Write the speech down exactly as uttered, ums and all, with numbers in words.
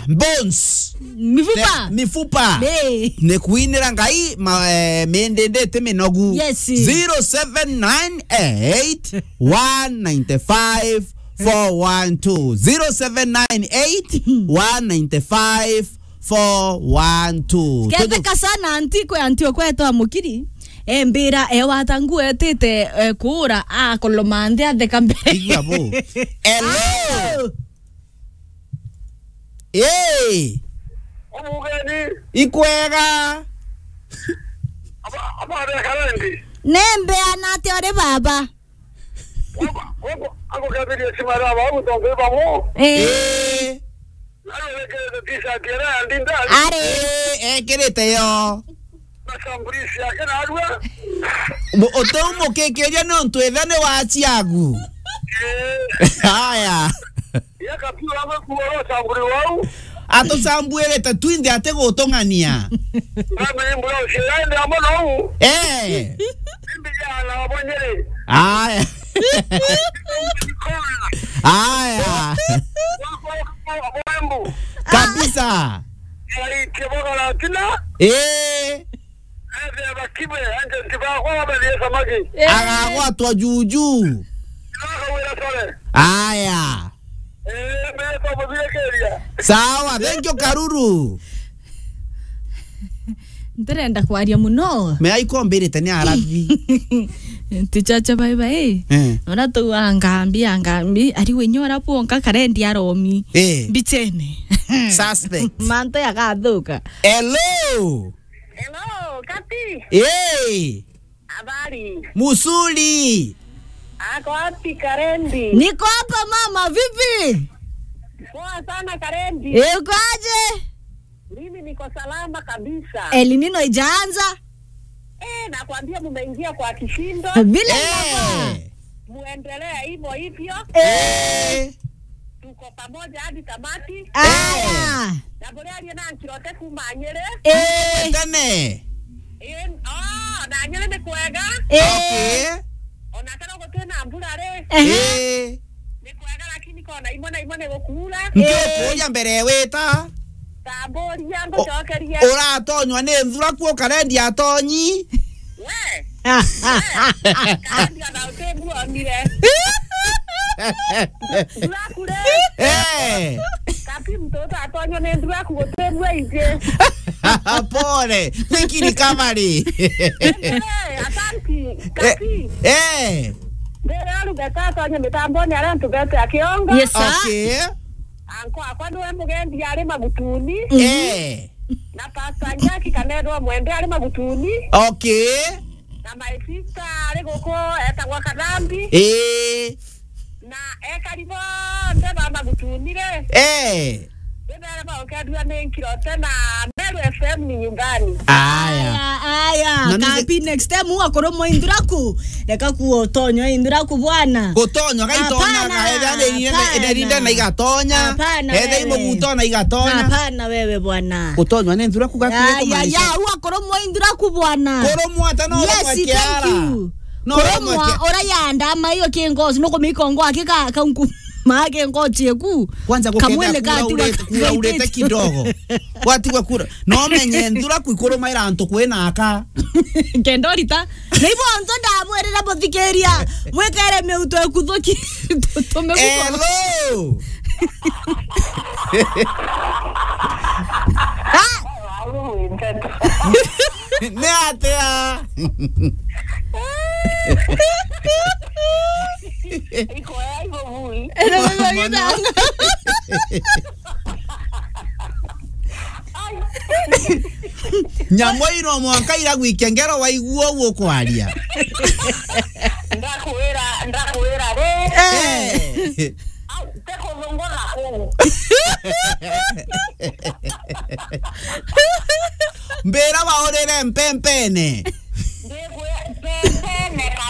Bones. Mifupa. The mifupa. Hey. Ni kuinira Ngai ma, eh, mindinditi minogu. Yes. Zero seven nine eight, one nine five, four one two. Zero seven nine eight, one nine five, four one two. Ketheka sana anti kwe anti okwetwa mukiri. Embira ewata ngu etite, eh, kuura akoloma nthi atheka mbere. Igua bo. Hello. Hello. Hey! Omugeni. Ikwega. Aba, aba be Karendi. Nembeana atia uri baba? Ako, ako, ako kebirie simara ba utonge bamo. Eh. Eh. Nalo lekere t-shirt ya ndinda. Are. Eh, ekirite yo. Mashambulizi yake narua. Mu-, uteumukikiria ni untu ithe ni wa ciagu. Eh. Haya. Ya kapiu amwe kuoro samburi wau. Atucambuirite twinthe ati gutung'ania. Ngami mbura uciende amwe nou. Eh. Mimi jana wabonyere. Haya. Haya. Wako, wako, wako, wako. Kabisa. Yaitie bogora tina. Eh. Ethia bakibe, agent bakwa babathie samaki. Eh. Agagwatwa juju. Bakawira sore. Aya. Eh, mbere twamuthirikiria. Sawa, thank you, Karuru. Ntirenda kwaria muno. Me aikombirite ni arabi. Tichacha bye bye. Eh. Ora tu angambi, angambi, ari wenye ora bwonka Karendi aromi. Eh. Mbichene. Suspect. Manto yagathuka. Hello. Hello, Kati. Hey. Habari? Musuli. Ako wapi Karendi? Niko hapa mama, vipi? Poa sana Karendi. Uko aje? Mimi niko salama kabisa. El Nino ijaanza? Eh, nakwambia mumeingia kwa kishindo. Vile inafaa. Eh. Muendelee hivyo hivyo. Eh. Eh. Tuko pamoja hadi tamati. Aya. Eh. Na buria arie na Nkirote kuma Nyeri. Eh. Tene. Eh, oh, na Nyeri ni kwega. Eh. Okay. Ona kana gutina mbura ri. Ehe. Eh. Ni kwega lakini kona imwe na imwe ni gukuura. Nkio kuuria mbere wita. Tamburia, ngucokerie. Uratonywa ni nthuraku ukarendia atonyi? We. Karendia na utimbuonire. Nthuraku ri? Eh. Kapi mtoto atonywa ni nthuraku gutimbua ingi. Pole. Niki recovery. Eh, asanti. Kapi. Eh. Ndira ruga tatonye mitamboni aria ntubete akiongo. Yes, sir. Okay. Anko akwa niwe mugendi ari Magutuni. Mhm. Eh. Na Pastor Jackie Kanedwa Mwende ari Magutuni. Okay. Na my sister ari guku etagwa Kadhambi. Eh. Na ekari bonthe ba Magutuni ri. Eh. Bibere baukethua ni Nkirote na Meru F M ni nyumbani. Aya. Aya, aya. Na ninge- Kapi next time ugakorwo mwa Induraku. Reka kuotonywa Induraku bwana. Gutonywa gaitonyaga, hapana, etha ni inde, hapana, inde na igatonya. Hapana, etha wewe. Imuguto na igatonya. Hapana wewe bwana. Gutonywa ni Induraku gakuye. Ya, ya, kumaanisha ya, ugakorwo mwa Induraku bwana. Kurumwa ata no. Yes, urumwa kiara. Thank you. No, kurumwa urumwa kia- ura yanda ama iyo kingozi no kumika ngo akika kaunku. Make ngochi eku. Kwanza gukethia kamwene kura kati wa urite, kura urite kidogo. Watigwa kura. No menye nthuraku ikurumaira antu kwina aka. Kenda urita. Na ibo antu ndamwirira muthikiria. Mwikere miuto ekuthuki. Tume guko. Hello. Ah! Ni atia? Iko ya iko bui. Mono. Nyamu ino mwanka iragwikia ngero waigua uguo kwaria. Ndakwira, ndakwira ri. Eh. Au, te kuthungura kuu. Mbira waurire mpempene.